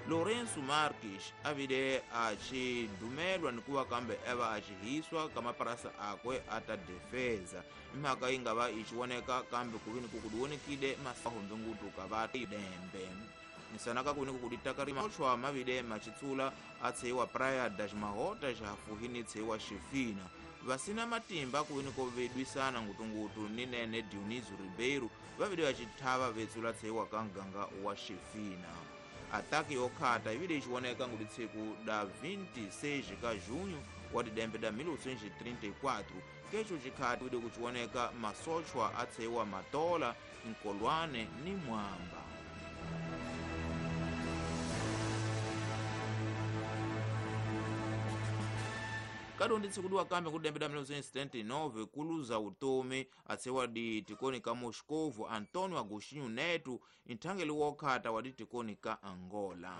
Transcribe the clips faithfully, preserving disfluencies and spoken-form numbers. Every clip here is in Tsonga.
Lourenço Marques avile a xidumelwa ni kuva kambe eva a xihiswa ka maparasa akwe a ta defeza imhaka yi nga va yi xivoneka kambe ku vi ni ku ku vonekile masahombe ka va dembe nisanaka ku ni ku ditaka ri machochwa mavile machitsula a tseiwa Praia das Mahota xafuhini tseiwa Xifina vasina matimba ku ni ko vedwisana ngutungutu ni nene Dionísio Ribeiro vavile va xithava vetsula tseiwa ka nganga wa Xifina. Ataki yokhata ivile ixivoneka nguditshiku da vinte e seis ka junho wa didembe da mil oitocentos e trinta e quatro kecho xikhati ivile kuxivoneka masochwa a tseiwa Matola, Nkolwane ni Mwamba. Kadondi tsikudiwa kambe kudembe da mil oitocentos e setenta e nove kuluza utomi atsewa di tikoni ka Moscovo Antônio Agostinho Neto nthangeli wokhata wa ditikoni ka Angola.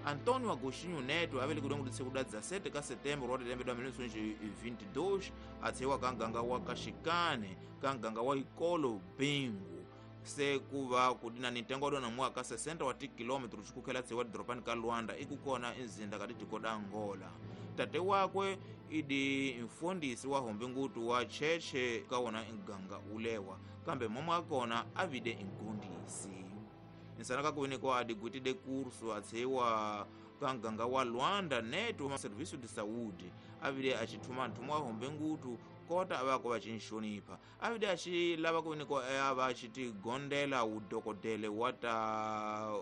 Antônio Agostinho Neto avele kudongo ditsikuda dezessete ka setembro wa didembe da mil oitocentos e vinte e dois atsewa ka nganga wa Kaxikane ka nganga wa Ikolo Bingu se kuva kudina nitengo dona mwaka sessenta wa quilômetros xikukhela tsewa dropani ka Luanda ikukona inzinda ka ditiko da Angola. Tate wakwe idi mfundisi wa hombe ngutu wa cheche ka wona nganga ulewa kambe momwe akona avide nkundisi nsanaka kuvenekwa adigwitide curso atsewa ka nganga wa Luanda Neto ma serviço de saúde avide axithuma nthumwa wa hombe ngutu kota avako va xinxonipha avide axi lava ku venikwa ava xi tigondela udokodele wa ta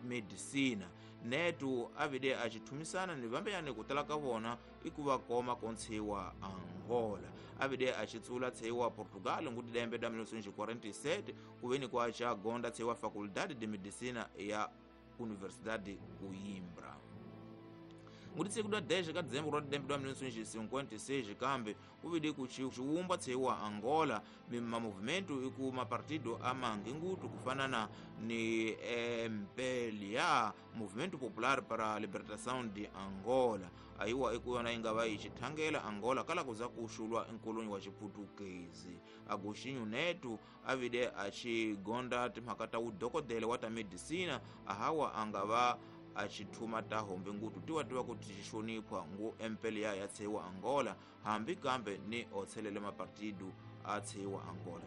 medicina Neto avide axi thumisana ni vambeyani ku tala ka vona i ku va koma kontshiwa Angola avide axi tsula tseiwa Portugal ngudidembe da mil oitocentos e quarenta e sete ku venikwa xa gonda tseiwa Faculdade de Medicina ya Universidade Coimbra. Nguditse kuda dez ka dezembro wa didembe da mil oitocentos e cinquenta e seis kambe kuvide kuxiwumba tseiwa Angola mima movimento iku mapartido amangi ngutu kufanana ni M P L A Movimento Popular para a Libertação de Angola ayiwa ikuyona inga va yi xithangela Angola kala kuza kuxulwa enkoloni wa xiputukezi. Agostinho Neto avide a xigonda timhaka ta udokodele wa ta medicina ahawa anga va axithuma ta hombe ngutu tiwa tiwa ku tixonipha ngu M P L A ya tseiwa Angola hambi kambe ni otshelele mapartido a tseiwa Angola.